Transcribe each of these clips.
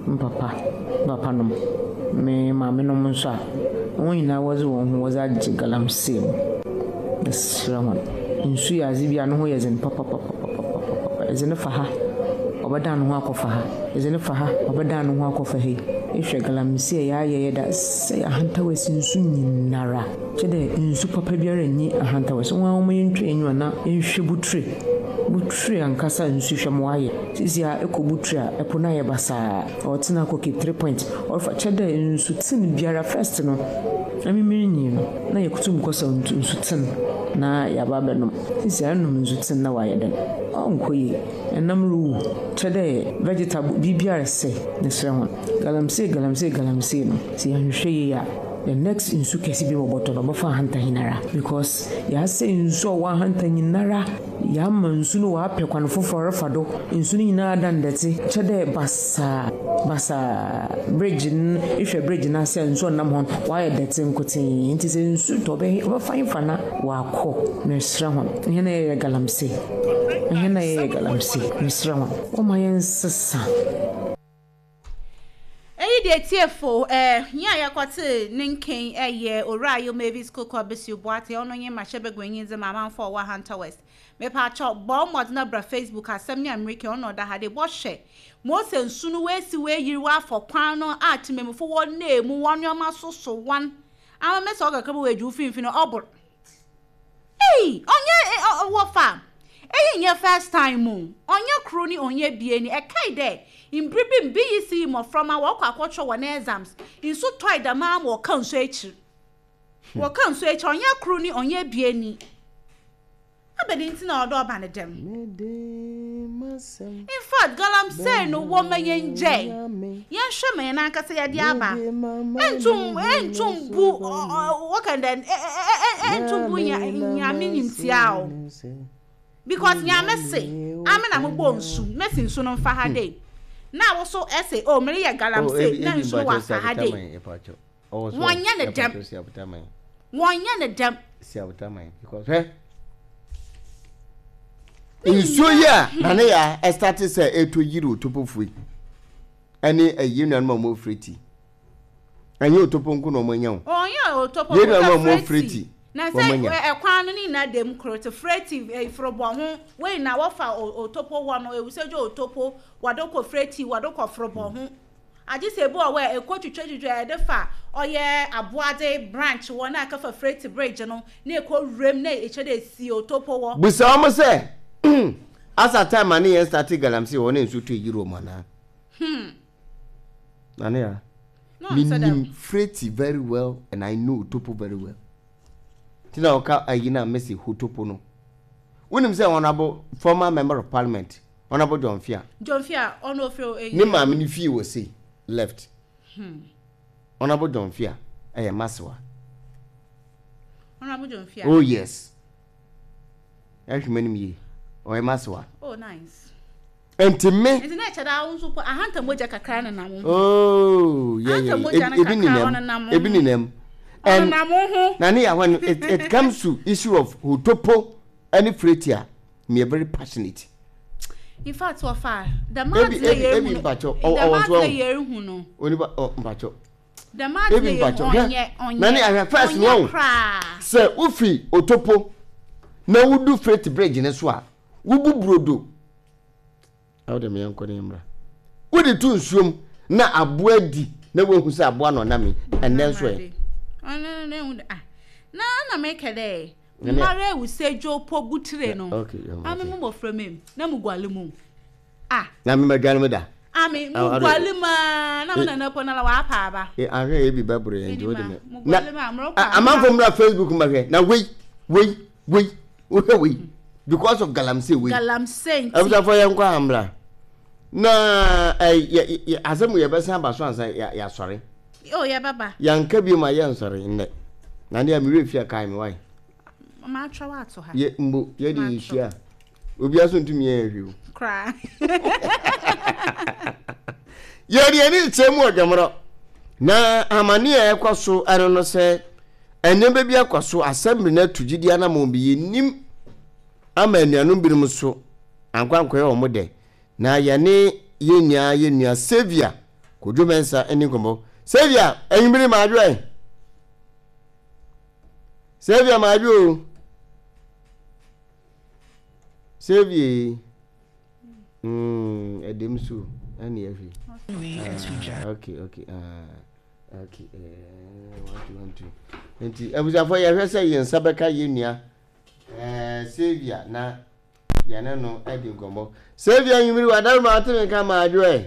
Me papa, me papanom, me maamenom nso a, hɔn nyina wɔdze hɔn ho wɔdze agye galamsey mu. Meserɛ hɔn, nsu yɛ adze bi a no ho yɛ dzen papapapapapa. Edze no fa ha, ɔbɛdan no ho akɔfa ha, edze no fa ha, ɔbɛdan no ho akɔfa ha yi. Ehwɛ galamsey a yɛayɛ yɛ da sɛɛ ahantaw esi nsu nyinara. Kyerɛ dɛ nsu papa biara nnyi ahantaw esi. Hɔn a wɔma yɛntwa enyiwa na yɛnhwɛ buture, buture ankasa nsu hwɛ ma ɔayɛ. Sesei a ekɔ buture a, ɛpo no ayɛ basaa. Ɔtsen akɔ Cape Three Point, ɔrefa kyerɛ dɛ nsutsen biara first no, emi mirinyin no, nna yekotum kɔsaw nsutsen na yɛaba abɛnom. Sesei a enom nsutsen na ɔayɛ dɛn? Ɔnnkɔ yie. Nam ruwu, kyerɛ dɛ vegetable, biribiara resɛɛ. Meserɛ hɔn, galamsey galamsey galamsey no, sɛ yɛannhwehwɛ yie a, the next nsu kɛse bi bɔbɔtɔ no, ɔbɛfa ahanta nyinara because yɛasɛɛ nsu a ɔwɔ ahanta nyinara. Yɛama nsu no ɔapɛ kwan fofor refa do, nsu no nyina adan dɛtse, kyerɛ dɛ basaa basaa. Bridge no, ehwɛ bridge no ase a nsu a ɔnam hɔ no, ɔayɛ dɛtse nkotsee. Ntsi sɛ nsu tɔ a, ɔbɛyɛ ɔbɛfa henfa na ɔakɔ? Mereserɛ hɔn, hɛn a yɛyɛ galamsey, hɛn a yɛyɛ galamsey, meserɛ hɔn, wɔmma yɛnsesa. Eyi deɛ atiefo eh, yɛn a yɛkɔtee ne nken yɛ Owura Ayew Mavis Koko Abesiw Boateng, ɔno nye mmarahyɛbaguanyi dze ma amanfo a ɔwɔ Ahanta West. Mepaakyɛw, bɔ wo mbɔdzen na bra Facebook asɛm nye Amriki ɔno na ɔda ha dei, bɔhwɛ Mose nsu no woesi woeyir woafɔ kwan no a tsemammufo wɔ naa mu hɔn nneɛma soso hɔn ama mesi ɔkakra bi woedzi wo finimfin no ɔbor. Ei ɔnyɛ eh wɔfa eyi nnyɛ first time o ɔnnyɛ kor ni ɔnnyɛ ebien ni ɛkae dɛ mber bi mu BECE mboframba wɔkɔ akɔkyerɛw hɔn exams nsu tɔe dɛm ara ma wɔkaa nsu ekyir wɔkaa nsu ekyir ɔnnyɛ kor ni ɔnnyɛ ebien ni abɛn ntsi na ɔwɔ dɛ ɔba no dɛm in fact galamsey no wɔma yɛngyae yɛnhwɛ ma yɛn ankasa yɛde aba ɛntum ɛntum bu wɔka dɛ ɛntum bu nyame nyimtia o because nyame se ame na mobɔ nsu mesi nsu no mfa ha dei na wo so ɛse o mereyɛ galamsey na nsu no wafa ha dei Wɔnyɛ no dɛm. Wɔnyɛ no dɛm. Nsuo yi a na ne ya ɛstate sɛ ɛtɔ yiri otopofo yi ɛne ɛyi nuanom a wɔn ofiri ti ɛnyɛ otopo nko na wɔn anya o. Ɔnyɛ otopo nko na wɔn ofiri ti. Na sɛ ɛkwan no ne nyinaa dɛm koro te freti forobɔ ho wei na wɔfa otopo hɔ no ewusɛdwo otopo wɔde kɔ freti wɔde kɔ forobɔ ho. Agye sɛ ebi wɔ hɔ a ɛkɔ twitwatwitwa ɛde fa ɔyɛ Aboadze branch hɔ na ɛkɛfa Freti bridge no na ɛkɔ wuram na ɛkyɛ dɛ ɛsi Otopo hɔ. Bisa wɔn sɛ, Asa time a ne yɛn starte galamsey hɔ na nsuo tɔ yiri wɔn anaa? Hmm. Nane ya, No, ɔnsɛ dɛm. menim Freti very well and I know Otopo very well. Ti na ɔka ayi na mese Hotopo no. Wonim sɛ Honourable former member of parliament Honourable John Fia. John Fia, ɔno ofiri o eyi. Ne maame ne fie wɔ sei left. Hmm. Honourable John Fia ɛyɛ masewa. Honourable John Fia. Oh yes. Ɛhwɛ m'anim yie. Ɔyɛ masewa. Oh nice. Nti me. Nti na ɛkyɛ dɛ awo nso po ahanta mogya kakra nenam ho. Oh yeah yeah. Ebi nenam. Ebi nenam. And ɔnenam ho. Na ne ya when it, it comes to issue of hotopo ɛne fretia me very passionate. In fact, wɔfa dɛm adze na yɛrehu no. Dɛm adze na yɛrehu no. Onipa ɔ mpatsɔ. Dɛm adze na yɛrehu ɔnyɛ ɔnyɛ. Na ne ahwɛ first no ɔnyɛ koraa. Sɛ wofi Otopo na wodu Freight Bridge ne so a, wobu brodo. Awo de meɛ nkɔ ne mmra. Wode to nsuom na aboa di na woahu sɛ aboa na ɔnam yi ɛnnɛ nso ɛ. Ɔno na ehu dɛ ah na na mekɛ dɛ Mara ewu sɛ dwo po butire no. Ame mo mmɔfra mu na mo guale mu. Ah. Na me madwane mu da. Ame mo guale mu a na mo nana po na la wapa aba. E ahwɛ ebi bɛboro yɛn nti wode me. Na amanfo mmra Facebook mbɛhwɛ na wei wei wei wohwɛ wei because of galamsey wei. Galamsey nti. Abusafo yɛn kɔ ambra. Na ɛ asɛm yɛbɛsan aba so ansa yɛasɔre. Oh, yɛbɛba. Yɛanka bio ma yɛnsɔre nnɛ. Na nea me werɛ fi a kae me wae. Matwerɛ wo ato ha. Yɛ mbo yɛde yɛhyia a obiara so ntumi yɛ hwee o. Koraa. Yɛde yɛn ani kyerɛ mu ɔdwamorɔ na amane a ɛkɔ so ɛno no sɛ nneɛma bi akɔ so assembly no atu gyidi anamɔn bi yɛnim ama anuanom binom so ankɔ ankɔyɛ wɔn dɛ na yɛne yɛn nyinaa yɛn nua Saviour. Kojo Mensah ani nkɔmmɔ. Saviour, anwummere maadwo ɛ. Saviour maadwo o. Saviour. Ɛdɛm so ɛne ɛhwɛ. Ah, okay, okay. Ah, okay. Eh, 1 2 1 2. Nti abusuafo yɛhwɛ sɛ yɛn nsa bɛka yɛn nua eh, Saviour na yɛne no adi nkɔmmɔ. Saviour anwummere wadaroma ate me nka maadwo ɛ.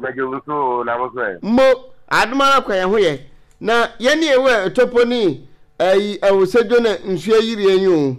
Mɛgye wo so o, na mo so ɛ? Mo, adom ara kwa yɛn ho yɛ. Na yɛne yɛwɔ ɛtɔpɔ ne ayi awosɛdwo na nsuo ayiri yɛn yi o.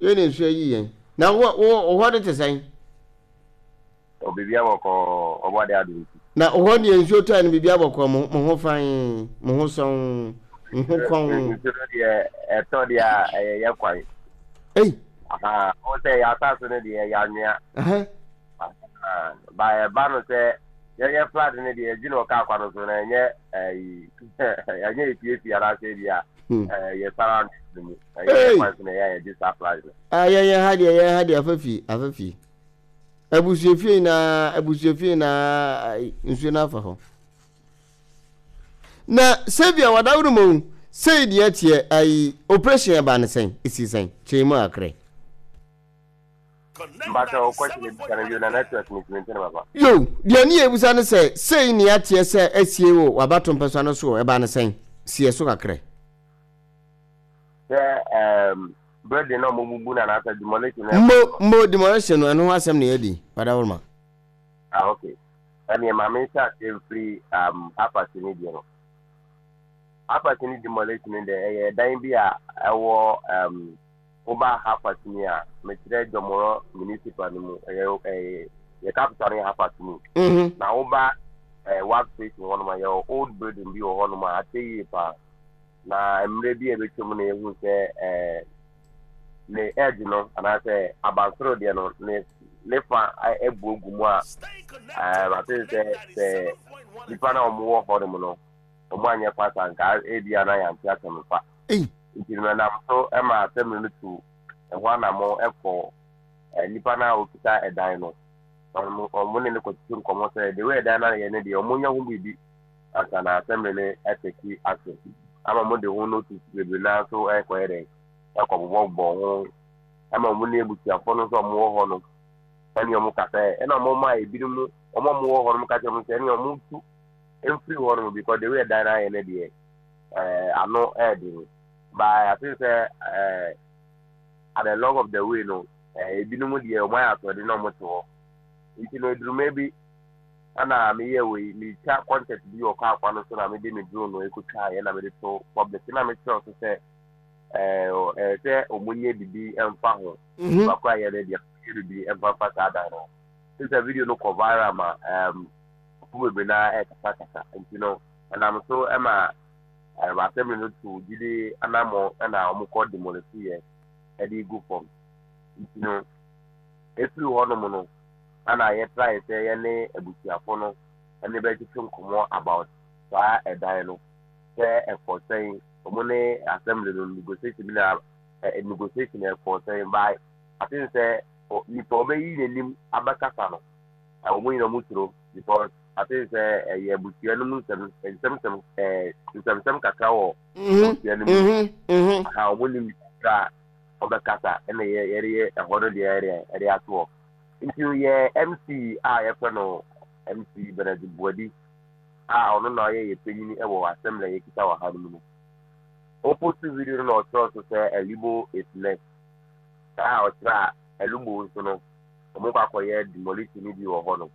Yɛn na nsuo ayi yɛn. Na wo wo hɔ de te sɛn? O, biribi abɔkɔɔ, ɔbɔ ade adom nti. Na wo hɔ deɛ nsuo tɔɛ no biribi abɔkɔɔ, mo mo ho fann, mo ho sɔnn, mo ho kɔnn. Nsuo no deɛ ɛtɔ deɛ a ɛyɛ yɛ kwan. Ei. Aha, wo sɛ yɛ asase no deɛ ɛyɛ anwea. Aha. Ba ɛba no sɛ yɛyɛ flood no deɛ yɛgye no wɔ kaa kwan no so na ɛnyɛ ɛyi ɛnyɛ efiefi anaasɛ ebi a yɛ surroundings no mu ɛyɛ yɛ kwan so na ɛyɛ a yɛgye saa flood no. Ah, yɛn yɛn ha deɛ yɛn ha deɛ afa fie afa fie abusuafie nyinaa abusuafie nyinaa nsuo no afa hɔ na sɛbi a wadaworo mu sɛyi deɛ teɛ ayi operation ɛba ne sɛn esi sɛn kyɛn mu akrɛ. Mpakyɛ wo question ebisa no bio na network no ntumi nte no papa. Yo, deɛ ne yɛbisa ne sɛ, sei ne ateɛ sɛ asie wɔ w'abato mpɛsoa no so ɛbaa no sɛn? Si ɛso kakrɛ. Sɛ ɛɛm building na ɔmo bubu no anaasɛ demolition no. Mbo, mbo demolition no ɛno ho asɛm na yɛdi, Wadawuruma. Ah ok, ɛneɛ ma me nhyɛ aseɛ mfiri um, Apathy ne deɛ no. Apathy ne demolition no deɛ ɛyɛ ɛdan bi a ɛwɔ um, Woba Hafasini a, mekyerɛ Jomoro Municipal no mu, ɛyɛ ɛyɛ yɛ capital no yɛ Hafasini. Mm-hmm. Na woba ɛɛ WAC station hɔnom a, yɛwɔ old building bi wɔ hɔnom a akyɛ yie paa. Na mmerɛ bi a ɛbɛtwa mu na yɛhu sɛ ɛɛ ne edge no anaasɛ abansoro deɛ no ne ne fa abu agu mu a ɛɛ ate sɛ sɛ nipa no a wɔwɔ hɔnom no wɔn anyɛ fast anka ebi a na yɛante asɛm fa. Ei! Nti no ɛnam so ma assembly no tu ɛho anammɔn kɔ nipa no a ɔkita ɛdan no. Wɔn ne no kɔtwetwe nkɔmmɔ sɛ the way ɛdan no ayɛ no deɛ wɔnyɛ ho biribi ansa na assembly no atake action. Ama wɔde ho notice bebree no ara nso ɛkɔyɛ dɛn ɛkɔbobɔbobɔ ho ɛma wɔn ne abusuafoɔ no nso a wɔwɔ hɔ no ɛne wɔn kasa ɛna wɔn ma ebinom wɔn a wɔwɔ hɔ no ka kyerɛ wɔn sɛ ɛne wɔn tu mfiri hɔ nom because the way ɛdan no ayɛ no deɛ eh, ano ɛɛden but I think sɛ eh, at the long of the way no eh, ebinom deɛ wɔn ayɛ asoɔden na wɔn te hɔ nti no eduruma bi ɛna meyɛ wei metwa content bi wɔ kaa kwan no so na mede me drone no ekotwa yɛ na mede to public na mekyerɛw so sɛ ɛɛ ɛɛ sɛ wɔn nyɛ bibi ɛnfa ho Mhm. bakora yɛ no deɛ wɔn nyɛ bibi ɛnfa fa saa dan no sɛ video no kɔ viral ma ɛɛm. Nkurɔfo bebree no ara rekasakasa nti no, ɛnam so ma assembly no tu gyidi anammɔn na wɔkɔ demolish yɛ de gu fam. Nti no, ɛfiri hɔnom no, ana yɛtrae sɛ yɛne abusuafo no ne bɛtwetwe nkɔmmɔ about saa ɛdan no, sɛ ɛkɔ sɛn, wɔn ne assembly no negotiation bi na negotiation ɛkɔ sɛn, by I think sɛ nipa ɔbɛyi n'anim abɛkasa no, wɔn nyinaa wɔn suro because I think sɛ ɛyɛ abusua no mu nsɛm nsɛmsɛm ɛɛ nsɛmsɛm kakra wɔ abusua no mu aha wɔn nim kakra a wɔbɛkasa ɛna yɛ yɛde yɛ ɛhɔ no deɛ yɛde ɛde ato hɔ nti yɛ MC a yɛfrɛ no MC Bernard Buadi a ɔno na ɔyɛ yɛ panyin wɔ assembly a yɛkita wɔ ha no mu no ɔpost video no na ɔkyerɛ so sɛ Elibo is next saa a ɔkyerɛ a Elubo nso no wɔkɔ akɔyɛ demolition no bi wɔ hɔ no.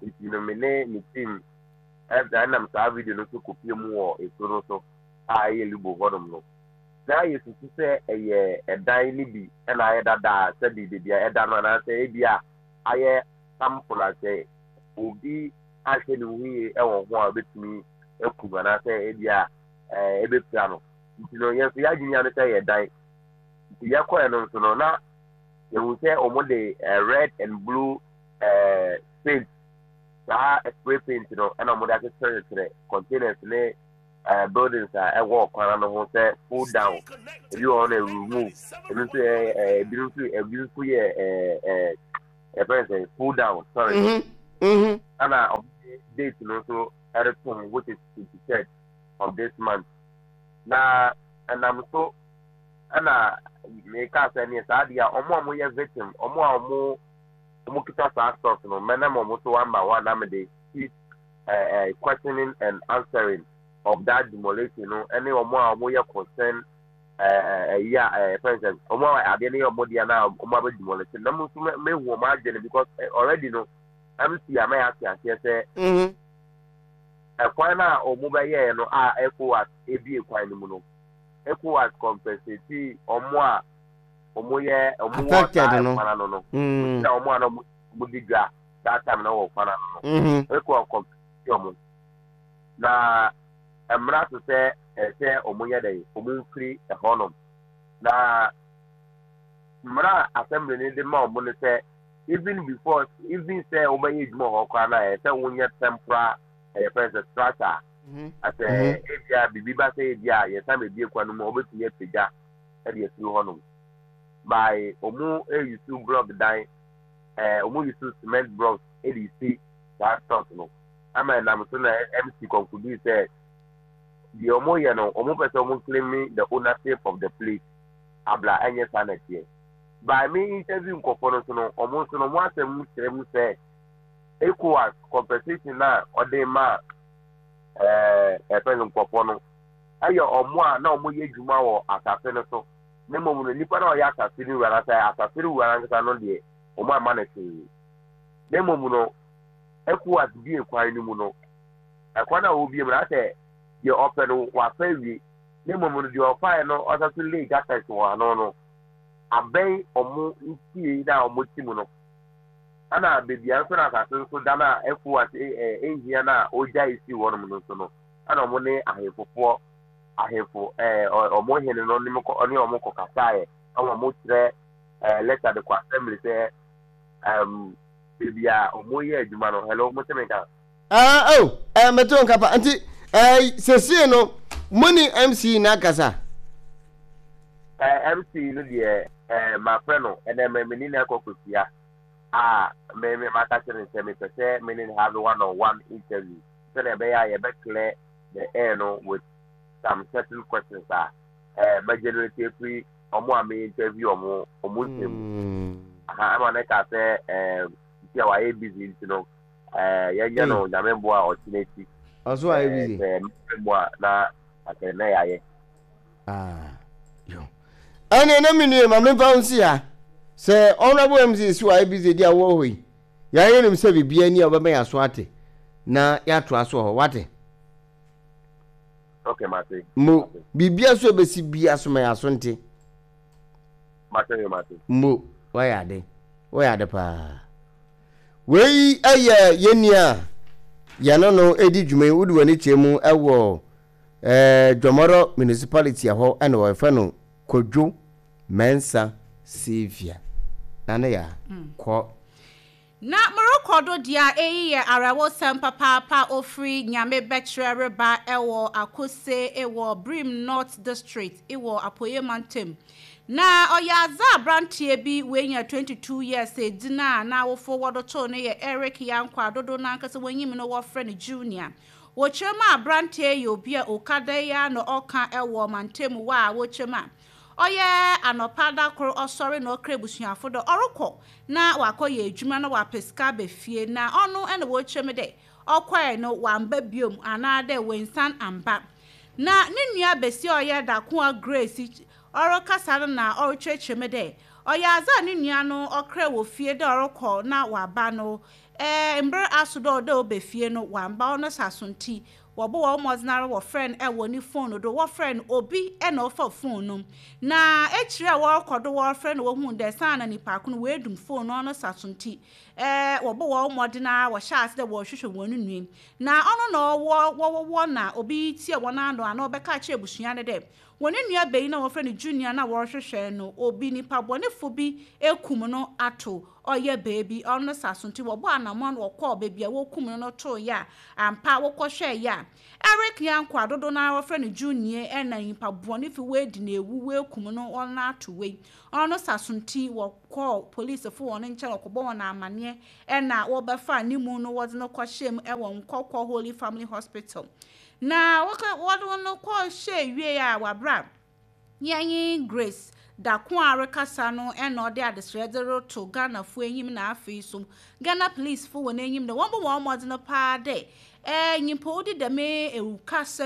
Nti no me ne me team ɛnam saa video no so kɔpie mu wɔ ekuro no so a ɛyɛ Lubo hɔnom no. Na yɛsusu sɛ ɛyɛ ɛdan no bi na ayɛ dada a sɛbi baabi a ɛda no anaasɛ ebi a ayɛ sample a sɛ obi anhwɛ ne ho yie wɔ ho a obetumi aku no anaasɛ ebi a ɛbɛpira no. Nti no yɛn nso yɛadwene ano sɛ ɛyɛ dan. Nti yɛkɔɛ no nso no na yɛhu sɛ wɔn de eh, red and blue eh, paint saa spray paint no ɛna wɔn de akyekyerɛkyekyerɛ containers ne eh, buildings a ɛwɔ ɔkwan ano ho sɛ pull down ebi wɔ hɔ na remove ebi nso yɛ eh, ebi nso ebi nso yɛ eh, eh, yɛfrɛ no sɛ pull down sorry Mhm. Mhm. ɛna wɔn de date no nso retom, which is 23rd of this month. Na ɛnam so ɛna meka sɛ neɛ saa deɛ a wɔn a wɔyɛ victim, wɔn a wɔn wɔn kita saa stocks no, mɛnam wɔn so one by one na mede keep questioning and answering of that demolition no, ɛne wɔn a wɔyɛ concern ɛyi a ɛfɛn sɛ wɔn a adeɛ no yɛ wɔn deɛ na wɔn abɛ demolish na mo nso mehu wɔn adwene because already no MC ama yɛ ate aseɛ sɛ ɛkwan no a wɔn bɛyɛɛ no a ECOWAS ebie kwan no mu no, ECOWAS compensate wɔn a wɔn yɛ wɔn wɔ saa ɛkwan ano no, na wɔn a na wɔn di dwa that time na wɔ kwan ano no, ECOWAS compensate wɔn na mmara so sɛ ɛsɛ wɔn yɛ dɛ wɔn mfiri ɛhɔnom. Na mmara a assembly no de ma wɔn no sɛ even before even sɛ wɔbɛyɛ adwuma hɔ koraa na ɛsɛ wɔnyɛ temporal ɛyɛ fɛn sɛ structure asɛ ebia biribi ba sɛ ebia yɛsan bebie kwan no mu a wɔbɛtumi apagya ɛde afiri hɔnom by wɔn eyusu block dan, wɔn yusu cement blocks ɛde si saa stock no ama ɛnam so na MC conclude sɛ deɛ wɔn yɛ no, wɔn pɛ sɛ wɔn claim the ownership of the place abla ɛnyɛ saa na ɛteɛ. By me interview nkɔfoɔ no so no, wɔn nso no wɔn asɛm kyerɛ mu sɛ ECOWAS compensation na ɔde ma ɛfɛ no nkɔfoɔ no ɛyɛ wɔn a na wɔn yɛ adwuma wɔ asase no so, ne mmom no nipa na ɔyɛ asase no wura na sɛ asase no wura nankasa no deɛ, wɔn ama no hwee. Ne mmom no ECOWAS bie kwan no mu no, ɛkwan a wɔbie mu no asɛ deɛ ɔpɛ no wafa awie, ne mmom no deɛ ɔfaeɛ no ɔsa so lay gutters wɔ ano no abɛn ɔmo nsie na ɔmo ti mu no, ɛna beebi a nso na asase nso da na ECOWAS ɛhia na ɔgya esi hɔnom no nso no, ɛna ɔmo ne ahemfofoɔ ahemfo ɔmo hene no ne kɔ ne ɔmo kɔ kasaeɛ, ɛna ɔmo kyerɛ letter de kɔ assembly sɛ beebi a ɔmo yɛ adwuma no. Hello, mo sɛ mi ka? Ah, oh, meto nka pa. Nti, sesie no, mo ne MC na akasa? MC no deɛ, mafrɛ no, ɛnɛ me ne no akɔ kɔhyia a me maka kyerɛ no sɛ mepɛ sɛ me ne no have one on one interview sɛdeɛ ɛbɛyɛ a yɛbɛ clear the air no with some certain questions a mɛ generate afiri ɔmo a me interview ɔmo nsɛm mu. Aha, ɛma ne ka sɛ nti a wayɛ busy nti no, yɛnyɛ no Nyame boa a ɔkyena akyi. Ɔso ayɛ busy. Sɛ mmerɛ mu a na asɛ na yɛayɛ. Ah, yo. Ɛne na me nua ma memfa wo nsi ha. Sɛ Honorable MC si wayɛ busy di a wowɔ hɔ yi, yɛayɛ nim sɛ biribiara ni a wobɛma yɛn aso ate na yɛatoa so wɔ hɔ. Wate? Okay, mate. Mo, biribiara so ɛbɛsi bia so ma yɛn aso nte. Mate yo, mate. Mo, wayɛ ade. Wayɛ ade paa. Wei yɛ yɛn nua a yɛne no redi dwuma yi, wode w'ani kyerɛ mu wɔ eh, Dwɔmɔrɔ Municipality ɛhɔ ɛna wɔfrɛ no Kwadwo Mensah Saviour. Na ne ya kɔ. Na morokɔ do dea eyi yɛ awerɛhosɛm papaapa a ofiri Nyame bɛkyerɛ reba wɔ Akose wɔ Birim North District wɔ Apueɛ Mantam. Na ɔyɛ adze a aberanteɛ bi oenya 22 years edzin a n'awofo wɔdo too no yɛ Eric Yankwah a dodow no ankasa wonyim no wɔfrɛ no Junior. Wɔkyerɛ mu a aberanteɛ yi yɛ obi a oka da yi ara na ɔka wɔ mantamu hɔ a wɔkyerɛ mu a ɔyɛ anɔpa da kor ɔsɔre na ɔkra ebusuafo dɛ ɔrokɔ na ɔakɔyɛ edwuma na ɔapɛ sika aba fie, na ɔno na wɔkyerɛ mu dɛ ɔkɔe no ɔammba bio anaadɛ oennsan ammba. Na no nua basia a ɔyɛ Dakoa Grace ɔrekasa no na ɔrekyerɛkyerɛ mu dɛ ɔyɛ adze a no nua no ɔkrae wɔ fie dɛ ɔrokɔ na ɔaba no, mber aso dɛ ɔwɔ dɛ ɔba fie no ɔammba, ɔno saso ntsi wɔbɔ hɔn mbɔdzen ara wɔfrɛ no wɔ ne fon do, wɔfrɛ no obi na ɔfa fon no. Na ekyir a wɔrokɔ do wɔrefrɛ no wohun dɛ saana nyimpa ko no oedum fon no, ɔno saso ntsi wɔbɔ hɔn mbɔdzen ara wɔhyɛɛ ase dɛ wɔrohwehwɛ hɔn nua. Na ɔno na ɔwɔ wɔwɔ na obi tsia hɔn ano anaa ɔbɛka akyerɛ ebusua no dɛ hɔn nuabanyin a wɔfrɛ no Junior no a wɔrohwehwɛ no, obi nyimpa bɔnefo bi ekum no ato ɔyɛ beebi, ɔno no saso ntsi wɔbɔɔ anamɔn wɔkɔɔ beebi a wokum no no tooe a, ampa wɔkɔhwɛe a. Eric Yanko dodo na wɔfrɛ no Junior ɛna nyimpa bɔne fi woedi na ewu woekum no ɔno ato wei. Ɔno sasonti wɔkɔɔ polisifo wɔn nkyɛn wɔkɔbɔ wɔn amanneɛ ɛna wɔbɛfa ne mu no wɔdze no kɔhyɛ mu ɛwɔ Nkɔkɔ Holy Family Hospital. Na wɔkɔ wɔde no kɔhyɛ wie a wabra yɛnye Grace Dako a rekasa no ɛna ɔde adesrɛ de reto Ghanafoɔ enyim na afei so Ghana police fo wɔ n'enyim dɛ wɔn bɔ wɔn mmɔden paa dɛ nyimpa odi dɛm ewukasɛm.